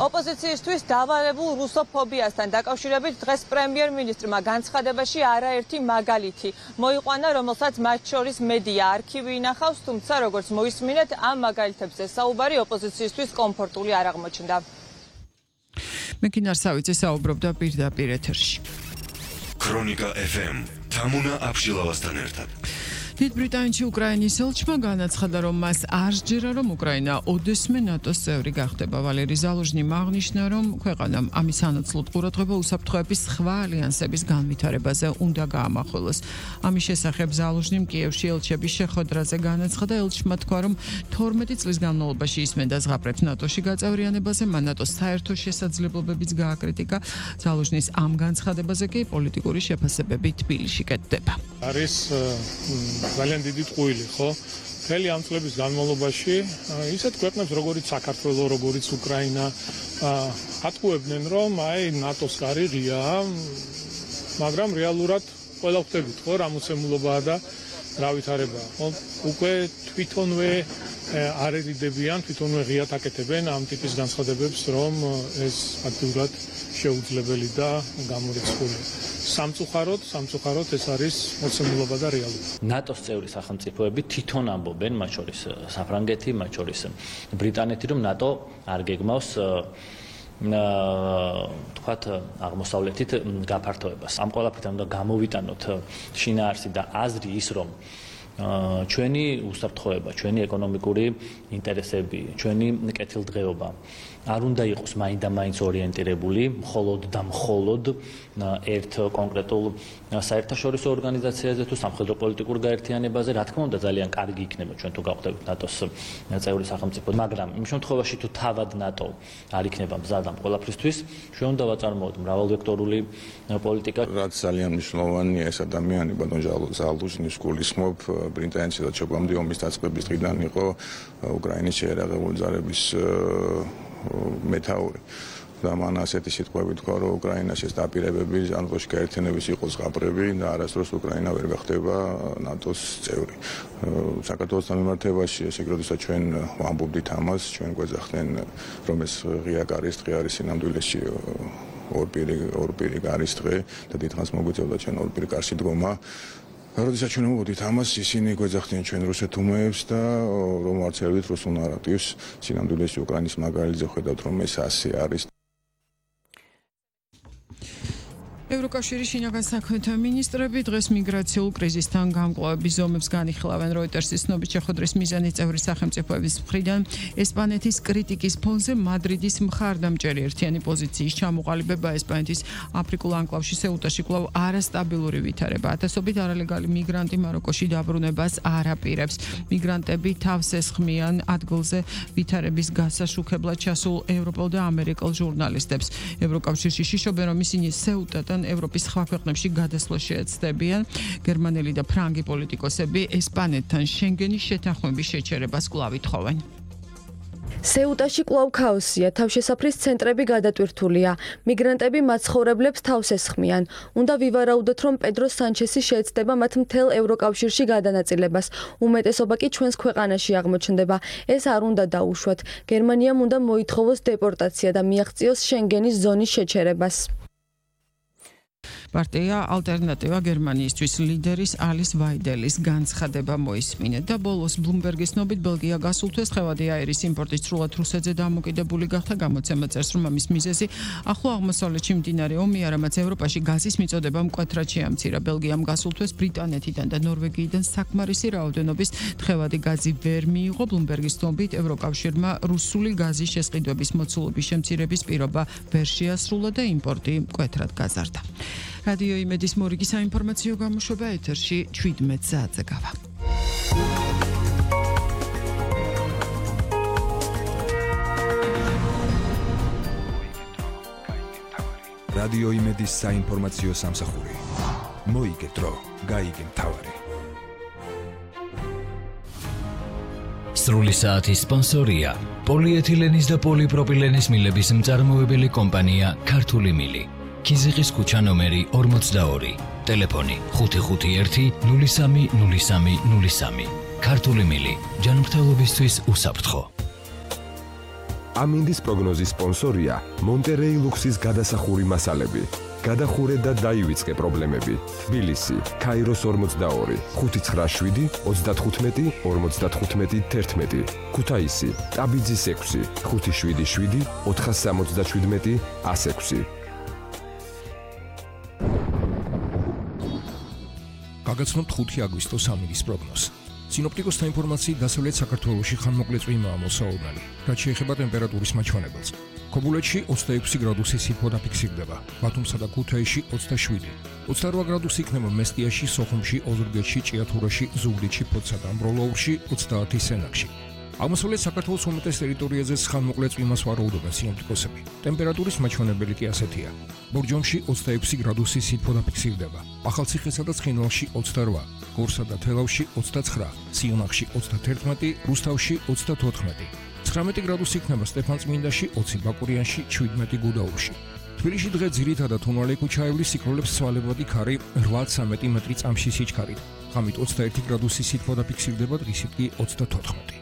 ოპოზიციისთვის დავარებულ რუსოფობიასთან დაკავშირებით დღეს პრემიერ-მინისტრმა განცხადებაში არაერთი მაგალითი მოიყვანა, რომელსაც მათ შორის მედია არქივი ინახავს, თუმცა როგორც მოისმინეთ, ამ მაგალითებზე საუბარი ოპოზიციისთვის კომფორტული არ აღმოჩნდა. მეკინარ სავიცე საუბრობდა პირდაპირ ეთერში. ქრონიკა FM თამუნა აფშილავასთან ერთად. დიდ ბრიტანეთში უკრაინის ელჩმა განაცხადა, რომ მას არ სჯერა, რომ უკრაინა ოდესმე ნატოს წევრი გახდება. ვალერი ზალუჟნიმ აღნიშნა, რომ ქვეყანამ ამის ანაცვლოდ ყურადღება უსაფრთხოების სხვა ალიანსების განვითარებაზე უნდა გაამახვილოს. ამის შესახებ ზალუჟნიმ კიევში ელჩების შეხვედრაზე განაცხადა. ელჩმა თქვა, რომ 12 წლის განმავლობაში ისმენდა ზღაპრებს ნატოში გაწევრიანებაზე, მან ნატოს საერთო შესაძლებლობებიც გააკრიტიკა. ზალუჟნის ამ განცხადებაზე კი პოლიტიკური შეფასებები თბილისში კეთდება. არის ძალიან დიდი ტყუილი, ხო? მთელი ამ წლების განმავლობაში ისეთ ქვეყნებს, როგორიც საქართველო, როგორიც უკრაინა, ატყუებდნენ, რომ აი ნატოს კარი ღიაა, მაგრამ რეალურად ყველა ხვდებით, ხო, რა მოცემულობაა და რა ვითარებაა. ხო, უკვე თვითონვე არ ერიდებიან, თვითონვე ღიად აკეთებენ ამ ტიპის განცხადებებს, რომ ეს ფაქტურად შეუძლებელი და გამორიცხულია. სამწუხაროდ ეს არის მოცემულობა და რეალობა. ნატოს წევრი სახელმწიფოები თვითონ ამბობენ, მათ შორის საფრანგეთი, მათ შორის ბრიტანეთი, რომ ნატო არ გეგმავს თქვათ აღმოსავლეთით გაფართოებას. ამ ყველაფერთან უნდა გამოვიტანოთ შინაარსი და აზრი ის, რომ ჩვენი უსაფრთხოება, ჩვენი ეკონომიკური ინტერესები, ჩვენი კეთილდღეობა არ უნდა იყოს მაინდა-მაინც ორიენტირებული მხოლოდ და მხოლოდ ერთ კონკრეტულ საერთაშორისო ორგანიზაციაზე თუ სამხედრო პოლიტიკურ გაერთიანებაზე. რა თქმა უნდა, ძალიან კარგი იქნება ჩვენ თუ გავხდებით ნატოს წევრი სახელმწიფო, მაგრამ იმ შემთხვევაში თუ თავად ნატო არ იქნება მზად ამ ყველაფრისთვის, ჩვენ უნდა ვაწარმოოთ მრავალვექტორული პოლიტიკა. რაც ძალიან მნიშვნელოვანია ეს ადამიანი, ბატონ ზალუჟნის გულისხმობ, ბრიტანეთში და ჩოგამდე ომის დაწყების დღიდან იყო უკრაინის შეერაღებული ძალების მეთაური. და მან ასეთი სიტყვები თქვა, რომ უკრაინაში ეს დაპირებები ანტოში გაერთიანების იყოს ზღაპრები და არასდროს უკრაინა ვერ გახდება ნატოს წევრი. საქართველოს მიმართებაში ესე როდესაც ჩვენ ვამბობდით ამას, ჩვენ გვეძახდნენ, რომ ეს ღია კარის დღე არის სინამდვილეში ორპირი კარის დღე და დიდხანს მოგვიწევდა ჩვენ ორპირი კარში დგომა. როდესაც ჩვენ ვამბობდით ამას, ისინი გვეძახდნენ ჩვენ რუსეთუმეებს და რომ არცერდით რუსულ ნარატივს, სინამდვილეში უკრაინის მაგალითზე ხედავთ, რომ ეს ასე არის. ევროკავშირის შინაგან საქმეთა მინისტრები დღეს მიგრაციულ კრიზისთან გამკლავების ზომებს განიხილავენ. როიტერსის ცნობით შეხვედრის მიზანი წევრი სახელმწიფოების მხრიდან ესპანეთის კრიტიკის ფონზე მადრიდის მხარდამჭერი ერთიანი პოზიციის ჩამოყალიბება. ესპანეთის აფრიკულ ანკლავში სეუტაში კვლავ არასტაბილური ვითარება. ათასობით არალეგალი მიგრანტი მაროკოში დაბრუნებას არ აპირებს. მიგრანტები თავს ესხმიან ადგილზე ვითარების გასაშუქებლად ჩასულ ევროპელ და ამერიკელ ჟურნალისტებს. ევროკავშირში შიშობენ, რომ ისინი სეუტადან ევროპის სხვა ქვეყნებში გადასვლა შეეცდებიან. გერმანელი და ფრანგი პოლიტიკოსები ესპანეთთან შენგენის შეთანხმების შეჩერებას კვლავ ითხოვენ. სეუტაში კვლავ ქაოსია, თავშესაფრის ცენტრები გადატვირთულია. მიგრანტები მაცხოვრებლებს თავს ესხმიან. უნდა ვივარაუდოთ, რომ პედრო სანჩესი შეეცდება მათ მთელ ევროკავშირში გადანაწილებას. უმეტესობა კი ჩვენს ქვეყანაში აღმოჩნდება. ეს არ უნდა დაუშვათ. გერმანიამ უნდა მოითხოვოს დეპორტაცია და მიაღწიოს შენგენის ზონის შეჩერებას. პარტია ალტერნატივა გერმანიისთვის ლიდერის ალის ვაიდელის განცხადება მოისმინეთ და ბოლოს ბლუმბერგის ცნობით ბელგია გასულ თვეს ხევადი აირის იმპორტის სრულად რუსეთზე დამოკიდებული გახდა. გამოცემა წერს, რომ ამის მიზეზი ახლო აღმოსავლეთში მდინარე ომი, არამაც ევროპაში გაზის მიწოდება მკვეთრად შეამცირა. ბელგიამ გასულ თვეს ბრიტანეთიდან და ნორვეგიიდან საკმარისი რაოდენობის თხევადი გაზი ვერ მიიღო. ბლუმბერგის ცნობით ევროკავშირმა რუსული გაზის შესყიდვების მოცულობის შემცირების პირობა ვერ შეასრულა და იმპორტი მკვეთრად გაზარდა. რადიო იმედის მორიგი საინფორმაციო გამოშვება ეთერში 17 საათზე გავა. რადიო იმედის საინფორმაციო სამსახური. მოიგეთ დრო, გაიგე მთავარი. სრული საათის სპონსორია პოლიეთილენის და პოლიპროპილენის მილების მწარმოებელი კომპანია ქართული მილი. კიზიყის ქუჩა ნომერი 42, ტელეფონი 551 030303. ქართული მილი, ჯანმრთელობისთვის უსაფრთხო. ამინდის პროგნოზის სპონსორია მონტერეი ლუქსის გადასახური მასალები. გადახურე და დაივიწყე პრობლემები. თბილისი, ქაიროს 42, 597 35 55 11. ქუთაისი, ტაბიძის 6, 577 477 106. გაგაცნობთ 5 აგვისტოს ამინდის პროგნოზს. სინოპტიკოსთა ინფორმაციით დასავლეთ საქართველოში ხანმოკლე წვიმაა მოსაუბნელი, რაც შეეხება ტემპერატურის მაჩვენებელს. ქობულეთში 26 გრადუსი სითბო დაფიქსირდება, ბათუმსა და ქუთაისში 27, 28 გრადუსი იქნება მესტიაში, სოხუმში, ოზურგეთში, ჭიათურაში, ზუგდიდში, ფოთსა და ამბროლაურში, 30 სენაკში. აღმოსავლეთ საქართველოს უმეტეს ტერიტორიაზე ხანმოკლე წვიმას ვარაუდობენ სინოპტიკოსები. ტემპერატურის მაჩვენებელი კი ასეთია: ბორჯომში 26 გრადუსი სითბო დაფიქსირდება, ახალციხესა და ცხინვალში 28, გორსა და თელავში 29, სიუნახში 31, რუსთავში 34. 19 გრადუსი იქნება სტეფანწმინდაში, 20 ბაკურიანში, 17 გუდაურში. თბილისში დღე ძირითადად თუნვალე ქუჩაევლის სიკროლებს ცვალებადი ქარი 8-13 მეტრი წამში სიჩქარით. ღამით 21 გრადუსი სითბო დაფიქსირდება, დღისით კი 34.